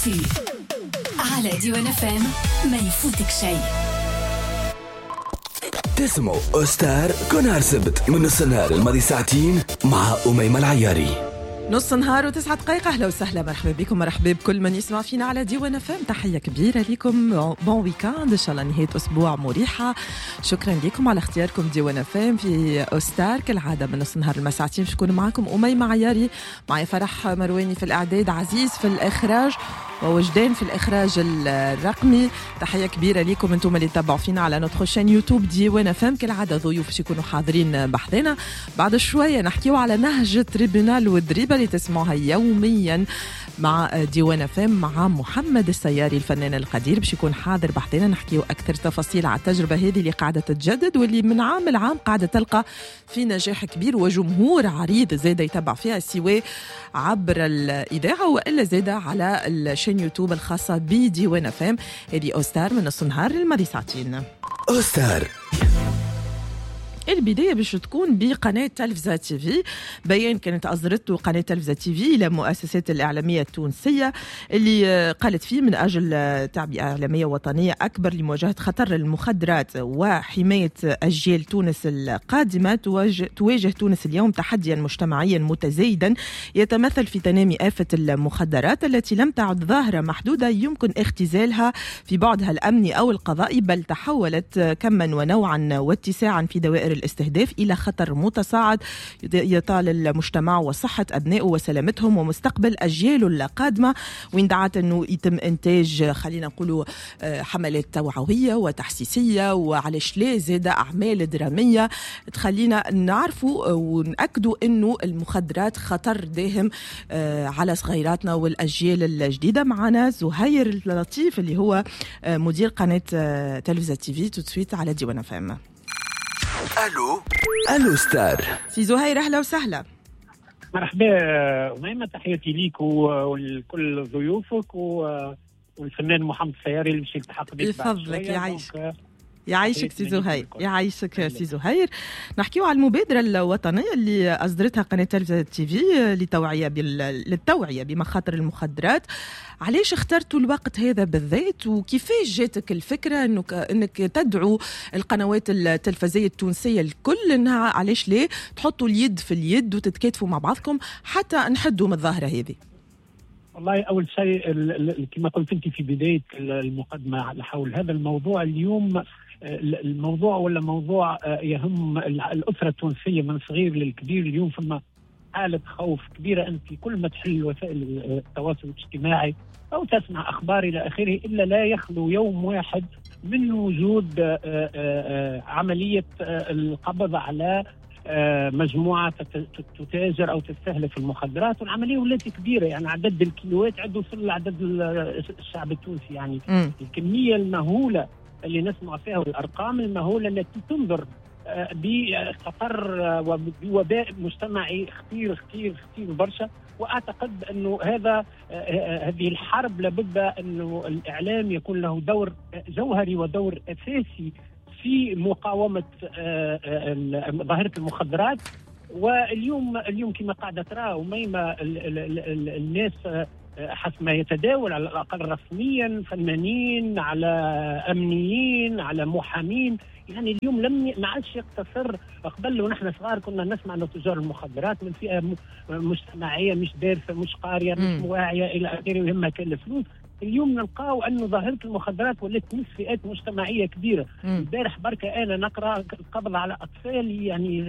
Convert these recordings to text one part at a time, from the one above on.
Actu على ديوان FM، ما يفوتك شيء. تسمعوا أوستار كل نهار سبت من نص النهار الماضي ساعتين مع أميمة العياري. نص نهار و9 دقائق. اهلا وسهلا، مرحبا بكم، مرحبا بكل من يسمع فينا على ديوان FM. تحية كبيرة لكم، bon week-end، ان شاء الله نهاية اسبوع مريحه. شكرا لكم على اختياركم ديوان FM في اوستار. كالعادة من نص نهار المساعتين باش نكون معكم اميمة عياري، معي فرح مرواني في الاعداد، عزيز في الاخراج، ووجدان في الاخراج الرقمي. تحية كبيرة لكم انتم اللي تتبعوا فينا على notre chaîne YouTube ديوان FM. كالعادة ضيوف باش يكونوا حاضرين بحذنا بعد شويه. نحكيو على نهج tribunal والدريبه اللي تسمعوها يوميا مع ديوان FM، مع محمد السياري الفنان القدير باش يكون حاضر بحذنا، نحكيو اكثر تفاصيل على التجربة هذه اللي قاعدة تتجدد واللي من عام لعام قاعدة تلقى في نجاح كبير وجمهور عريض زاد يتبع فيها، سواء عبر الاذاعة والا زاد على ال chaîne YouTube الخاصة بديوان FM. هذه اوستار من نص نهار للماضي ساعتين. أوستار. البداية باش تكون بقناة تلفزة TV. بيان كانت أصدرته قناة تلفزة TV إلى مؤسسات الإعلامية التونسية اللي قالت فيه: من أجل تعبئة إعلامية وطنية أكبر لمواجهة خطر المخدرات وحماية أجيال تونس القادمة، تواجه تونس اليوم تحديا مجتمعيا متزايدا يتمثل في تنامي آفة المخدرات التي لم تعد ظاهرة محدودة يمكن اختزالها في بعدها الأمني أو القضائي، بل تحولت كما ونوعا واتساعا في دوائر الاستهداف إلى خطر متصاعد يطال المجتمع وصحة أبنائه وسلامتهم ومستقبل أجياله القادمة. وين دعت أنه يتم إنتاج، خلينا نقولوا، حملات توعوية وتحسيسية، وعلاش لا زاد أعمال درامية تخلينا نعرفوا ونأكدوا أنه المخدرات خطر داهم على صغيراتنا والأجيال الجديدة. معنا زهير اللطيف اللي هو مدير قناة تلفزة TV، tout de suite على ديوان FM. الو الو ستار. سي زهير، اهلا وسهلا. مرحبا أميمة، تحياتي ليك ولكل ضيوفك والفنان محمد السياري اللي باش يلتحق بك. يفضلك، يعيشك يعيشك سي زهير، يعيشك سي زهير. نحكيو على المبادرة الوطنية اللي أصدرتها قناة تلفزة TV للتوعية بمخاطر المخدرات. علاش اخترتوا الوقت هذا بالذات؟ وكيفاش جاتك الفكرة انك تدعو القنوات التلفزية التونسية الكل انها علاش ليه تحطوا اليد في اليد وتتكاتفوا مع بعضكم حتى نحدوا من الظاهرة هذه؟ والله اول شيء، كما قلت انت في بداية المقدمة حول هذا الموضوع، اليوم الموضوع ولا موضوع يهم الاسرة التونسية من صغير للكبير. اليوم فما حاله خوف كبيره، انت كل ما تحل وسائل التواصل الاجتماعي او تسمع اخبار الى اخره الا لا يخلو يوم واحد من وجود عملية القبض على مجموعة تتاجر او تستهلك المخدرات، والعملية ولات كبيره، يعني عدد الكيلوات عنده وصل لعدد الشعب التونسي، يعني الكمية المهوله اللي نسمع فيها والارقام المهوله التي تنذر بخطر وبوباء مجتمعي خطير خطير خطير برشا. واعتقد انه هذه الحرب لابد انه الاعلام يكون له دور جوهري ودور اساسي في مقاومة ظاهره المخدرات. واليوم اليوم كما قاعدة ترى أميمة، الناس حسب ما يتداول على الاقل رسميا، فنانين على امنيين على محامين، يعني اليوم لم ما عادش يقتصر. قبل ونحن صغار كنا نسمع انه تجار المخدرات من فئة مجتمعية مش دارسه، مش قاريه، مش واعية الى اخره، ويهمها كان الفلوس. اليوم نلقاو انه ظاهره المخدرات ولات تمس فئات مجتمعية كبيره. البارح بركة انا نقرا القبض على اطفال يعني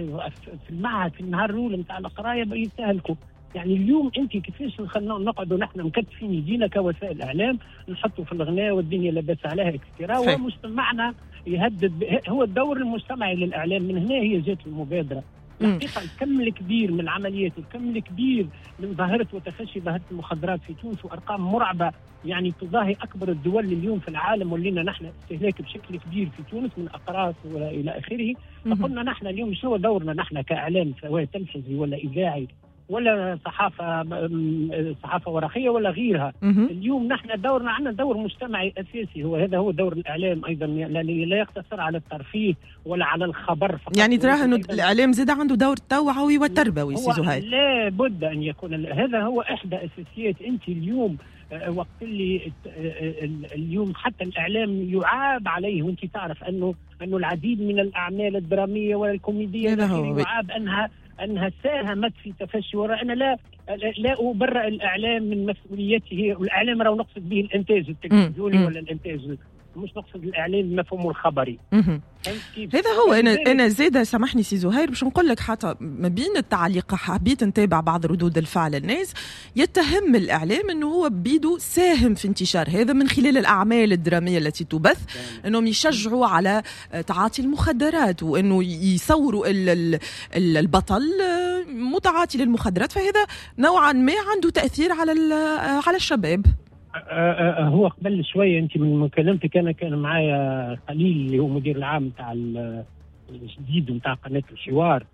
في المعهد في النهار الاول نتاع القراية يستهلكوا. يعني اليوم انت كيفاش نقعدوا نحن مكتفين يدينا كوسائل اعلام، نحطوا في الغناء والدنيا لاباس عليها et cetera، ومجتمعنا يهدد؟ هو الدور المجتمعي للاعلام، من هنا هي جات المبادره. الحقيقة الكم الكبير من العمليات والكم الكبير من ظاهره وتفشي ظاهره المخدرات في تونس وارقام مرعبة يعني تضاهي اكبر الدول اليوم في العالم، ولينا نحن استهلاك بشكل كبير في تونس من اقراص والى اخره. فقلنا نحن اليوم شنو دورنا نحن كاعلام، سواء تلفزي ولا اذاعي ولا صحافه ورقية ولا غيرها؟ اليوم نحن دورنا، عندنا دور مجتمعي اساسي، هو هذا هو دور الاعلام ايضا، لا يقتصر على الترفيه ولا على الخبر فقط. يعني تراه انه الاعلام زاد عنده دور توعوي وتربوي سي زهير؟ لا بد ان يكون، هذا هو احدى اساسيات. انت اليوم وقت اللي اليوم حتى الإعلام يعاب عليه، وانت تعرف أنه العديد من الأعمال الدرامية والكوميدية يعاب أنها ساهمت في تفشي. وأنا لا أبرئ الإعلام من مسؤوليته، والإعلام راه نقصد به الإنتاج التلفزيوني ولا الإنتاج، مش نقصد الإعلام بمفهومه الخبري. هذا هو. أنا زادة سامحني سي زهير باش نقول لك، حتى ما بين التعليق حبيت نتابع بعض ردود الفعل. الناس يتهم الإعلام أنه هو بيدو ساهم في انتشار هذا من خلال الأعمال الدرامية التي تبث، أنهم يشجعوا على تعاطي المخدرات وأنه يصوروا البطل متعاطي للمخدرات، فهذا نوعا ما عنده تأثير على الشباب. هو قبل شوية أنت من مكالمتك أنا كان معايا خليل اللي هو مدير العام تاع الجديد نتاع قناة الحوار،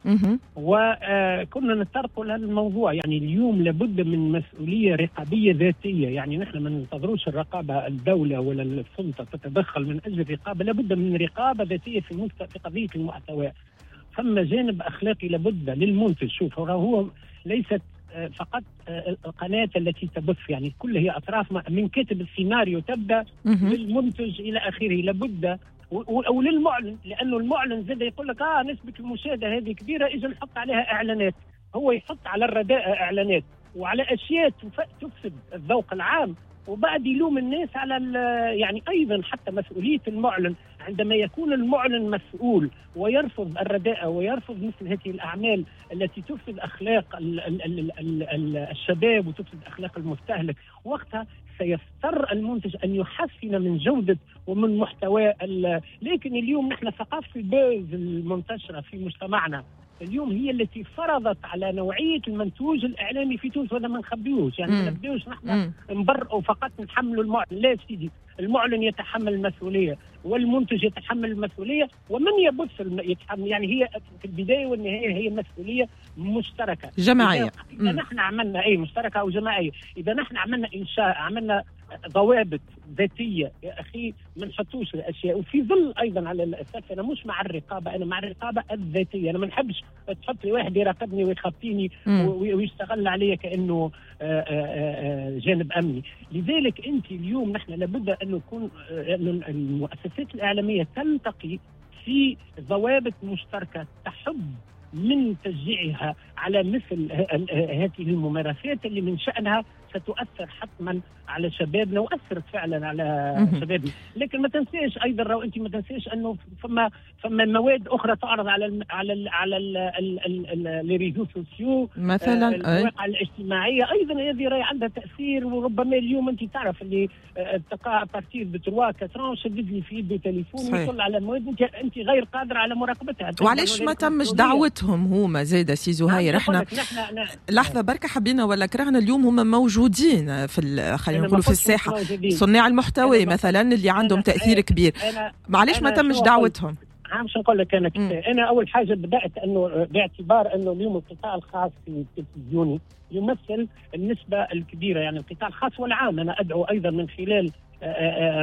وكنا نتطرقوا لهذا الموضوع. يعني اليوم لابد من مسؤولية رقابية ذاتية، يعني نحن ما ننتظروش الرقابة الدولة ولا السلطة تتدخل من أجل الرقابة، لابد من رقابة ذاتية في قضية المحتوى. ثم جانب أخلاقي لابد للمنتج. شوف هو ليست فقط القناة التي تبث، يعني كل هي أطراف، من كاتب السيناريو تبدأ للمنتج إلى آخره، لابد وللمعلن، لأنه المعلن زاد يقول لك نسبة المشاهدة هذه كبيرة، إذا نحط عليها إعلانات. هو يحط على الرداءة إعلانات وعلى أشياء تفسد الذوق العام، وبعد يلوم الناس على يعني أيضا حتى مسؤولية المعلن. عندما يكون المعلن مسؤول ويرفض الرداءة ويرفض مثل هذه الأعمال التي تفسد أخلاق الشباب وتفسد أخلاق المستهلك، وقتها سيضطر المنتج أن يحسن من جودة ومن محتوى. لكن اليوم نحن ثقافة ال buzz المنتشرة في مجتمعنا اليوم هي التي فرضت على نوعية المنتوج الإعلامي في تونس، وهذا ما نخبيوش، يعني ما نبداوش نحن نبرئوا فقط نحملوا المعلن. لا سيدي، المعلن يتحمل المسؤولية والمنتج يتحمل المسؤولية ومن يبث يتحمل. يعني هي في البداية والنهاية هي مسؤولية مشتركة جماعية. إذا نحن عملنا أي مشتركة أو جماعية، إذا نحن عملنا إنشاء، عملنا ضوابط ذاتية يا أخي، ما نحطوش الأشياء. وفي ظل أيضا على الأساس أنا مش مع الرقابة، أنا مع الرقابة الذاتية. أنا ما نحبش تحط لي واحد يراقبني ويخطيني ويشتغل علي كأنه جانب أمني. لذلك أنت اليوم نحن لابد أن نكون المؤسسات الإعلامية تلتقي في ضوابط مشتركة تحب من تشجيعها على مثل هذه الممارسات اللي من شأنها ستؤثر حتما على شبابنا، وأثرت فعلا على شبابنا. لكن ما تنساش أيضا، لو أنت ما تنساش أنه فما مواد أخرى تعرض على ال على ال على les réseaux sociaux مثلا، المواقع الاجتماعية أيضا هذه راهي عندها تأثير. وربما اليوم أنت تعرف اللي تلقى à partir de 3 4 شدد لي في يده تليفون ويطلع على مواد أنت غير قادرة على مراقبتها. وعلاش ما تمش دعوتهم هما زاده سي زهير؟ احنا لحظة بركة، حبينا ولا كرهنا اليوم هما موجودين في خلينا نقولوا في الساحة، صناع المحتوى مثلا اللي عندهم تأثير كبير، معليش ما تمش دعوتهم؟ باش نقول لك انا انا اول حاجة بدات انه باعتبار انه اليوم القطاع الخاص في التلفزيوني يمثل النسبة الكبيرة، يعني القطاع الخاص والعام. انا ادعو ايضا من خلال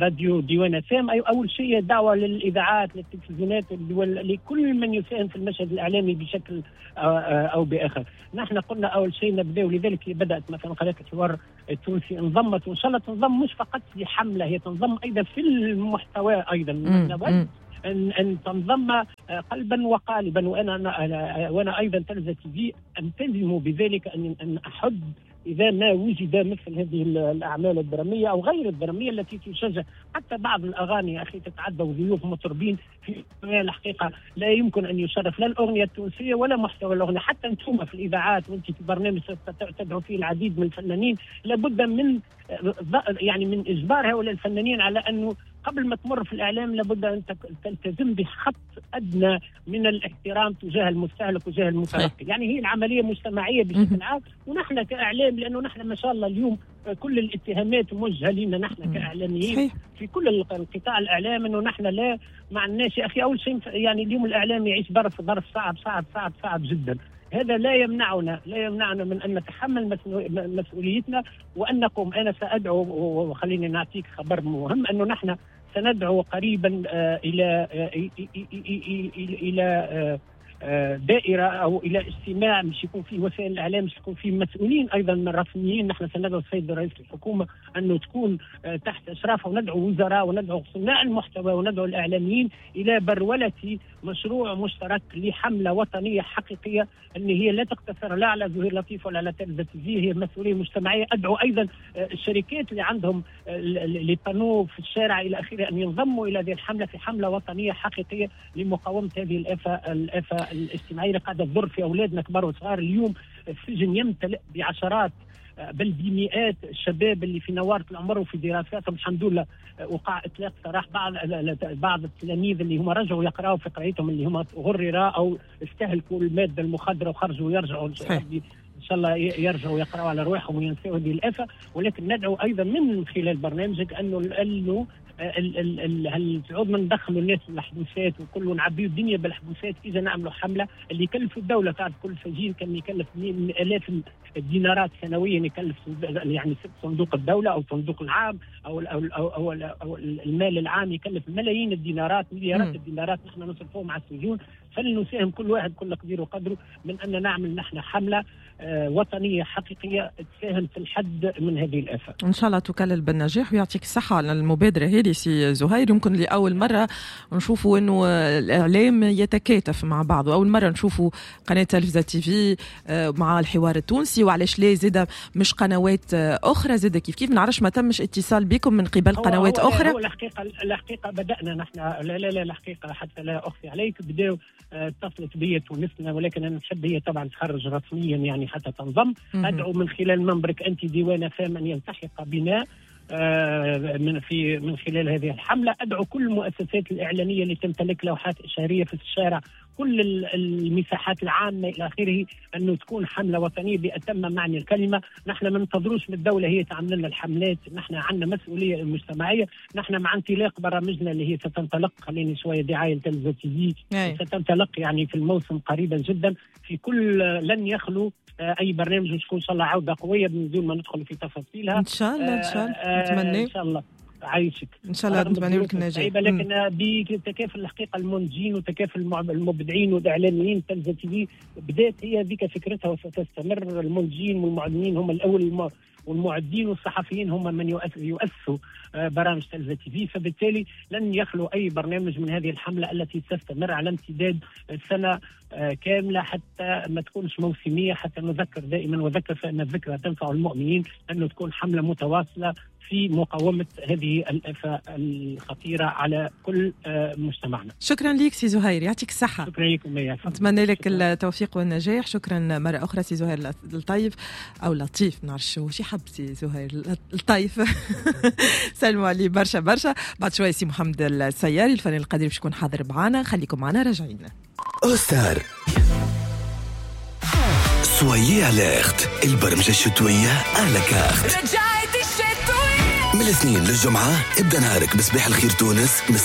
راديو ديوان FM، اول شيء دعوه للاذاعات، للتلفزيونات، لكل من يساهم في المشهد الاعلامي بشكل او باخر. نحن قلنا اول شيء نبدا، ولذلك بدات مثلا قناة الحوار التونسي انضمت، وان شاء الله تنضم مش فقط في حمله، هي تنضم ايضا في المحتوى ايضا. نود ان تنضم قلبا وقالبا، وانا ايضا تلفزة تي في التزم بذلك، ان احد إذا ما وجد مثل هذه الأعمال الدرامية أو غير الدرامية التي تشجع. حتى بعض الأغاني يا أخي تتعدى وضيوف مطربين في الحقيقة لا يمكن أن يشرف لا الأغنية التونسية ولا محتوى الأغنية. حتى أنتم في الإذاعات وأنت في برنامج تدعو فيه العديد من الفنانين، لابد من يعني من إجبار هؤلاء الفنانين على أنه قبل ما تمر في الإعلام لابد أن تلتزم بخط أدنى من الاحترام تجاه المستهلك وتجاه المتلقي. يعني هي العملية مجتمعية بشكل عام، ونحن كإعلام، لأنه نحن ما شاء الله اليوم كل الاتهامات موجهة لنا نحن كإعلاميين في كل القطاع الإعلام، أنه نحن لا ما عندناش يا أخي. أول شيء يعني اليوم الإعلام يعيش ظرف صعب صعب صعب صعب جدا. هذا لا يمنعنا من أن نتحمل مسؤوليتنا وأن نقوم. أنا سأدعو، وخليني نعطيك خبر مهم، أنه نحن سندعو قريبا إلى دائرة او الى اجتماع مش يكون فيه وسائل الاعلام، مش يكون فيه مسؤولين ايضا من الرسميين. نحن سندعو السيد رئيس الحكومة انه تكون تحت اشرافه، وندعو وزراء وندعو صناع المحتوى وندعو الاعلاميين الى برولة مشروع مشترك لحمله وطنية حقيقية ان هي لا تقتصر لا على زهير لطيف ولا على تلفزه تي، هي مسؤولية مجتمعية. ادعو ايضا الشركات اللي عندهم les panneaux في الشارع الى اخره ان ينضموا الى هذه الحملة في حمله وطنية حقيقية لمقاومة هذه الافة الاجتماعية اللي قاعدة تضر في اولادنا كبار وصغار. اليوم السجن يمتلئ بعشرات بل بمئات الشباب اللي في نوارة العمر وفي دراساتهم. الحمد لله وقع اطلاق سراح بعض التلاميذ اللي هم رجعوا يقراوا في قرايتهم، اللي هم غررا او استهلكوا المادة المخدره وخرجوا يرجعوا ان شاء الله يرجعوا يقراوا على رواحهم وينسوا هذه الافة. ولكن ندعو ايضا من خلال برنامجك انه هل ما ندخلوا الناس الحبوسات وكل ونعبيوا الدنيا بالحبوسات، اذا نعملوا حمله اللي يكلفوا الدولة. تعرف كل سجين كان يكلف الاف الدينارات سنويا، يكلف يعني صندوق الدولة او صندوق العام او او او, أو, أو المال العام يكلف ملايين الدينارات، مليارات الدينارات نحن نصرفوهم على السجون. فلنساهم كل واحد كل قدير وقدره من ان نعمل نحن حمله وطنية حقيقية تساهم في الحد من هذه الافة. ان شاء الله تكلل بالنجاح ويعطيك الصحة على المبادرة هذه سي زهير. يمكن لاول مرة نشوفوا انه الاعلام يتكاتف مع بعضه، اول مرة نشوفوا قناة تلفزه تي في مع الحوار التونسي، وعلاش لا زاده مش قنوات اخرى زاده كيف كيف. ما نعرفش ما تمش اتصال بكم من قبل قنوات اخرى؟ هو الحقيقة بدانا نحن، لا لا لا الحقيقة حتى لا اخفي عليك، بداوا اتصلت بي تونسنا، ولكن انا نحب هي طبعا تخرج رسميا يعني حتى تنضم. ادعو من خلال منبرك انت ديوان فام ان يلتحق بنا من خلال هذه الحملة. ادعو كل المؤسسات الاعلامية اللي تمتلك لوحات اشهاريه في الشارع، كل المساحات العامة الى اخره، انه تكون حمله وطنية باتم معنى الكلمة. نحن ما ننتظروش من الدولة هي تعمل لنا الحملات، نحن عندنا مسؤولية مجتمعية. نحن مع انطلاق برامجنا اللي هي ستنطلق، خليني شوية دعاية لتلفزه تي في، ستنطلق يعني في الموسم قريبا جدا في كل، لن يخلو اي برنامج، وتكون ان شاء الله عوده قوية من دون ما ندخل في تفاصيلها ان شاء الله. ان شاء الله نتمنى ان شاء الله عايشك ان شاء الله نتمنى لك النجاح. لكن بتكافل الحقيقة المنتجين وتكافل المبدعين والاعلاميين، تلفزه تي في بدات هي ذيك فكرتها وستستمر. المنتجين والمعلنين هم الاول، والمعدين والصحفيين هم من يؤسسوا برامج تلفزه تي في، فبالتالي لن يخلو اي برنامج من هذه الحملة التي تستمر على امتداد سنة كاملة حتى ما تكونش موسميه، حتى نذكر دائما وذكر فان الذكرى تنفع المؤمنين، انه تكون حمله متواصلة في مقاومة هذه الافة الخطيرة على كل مجتمعنا. شكرا لك سي زهير، يعطيك الصحة. شكرا لكم، نتمنى لك التوفيق والنجاح. شكرا مرة اخرى سي زهير الطيف او لطيف، ما نعرفش شو حب سي زهير الطيف. سلموا عليه برشا برشا. بعد شوية سي محمد السياري الفنان القدير باش يكون حاضر معنا، خليكم معنا راجعين. أوستار soyez alerte، البرمجة الشتوية à la carte. رجعت الشتوية من الاثنين للجمعة، ابدأ نهارك بصباح الخير تونس من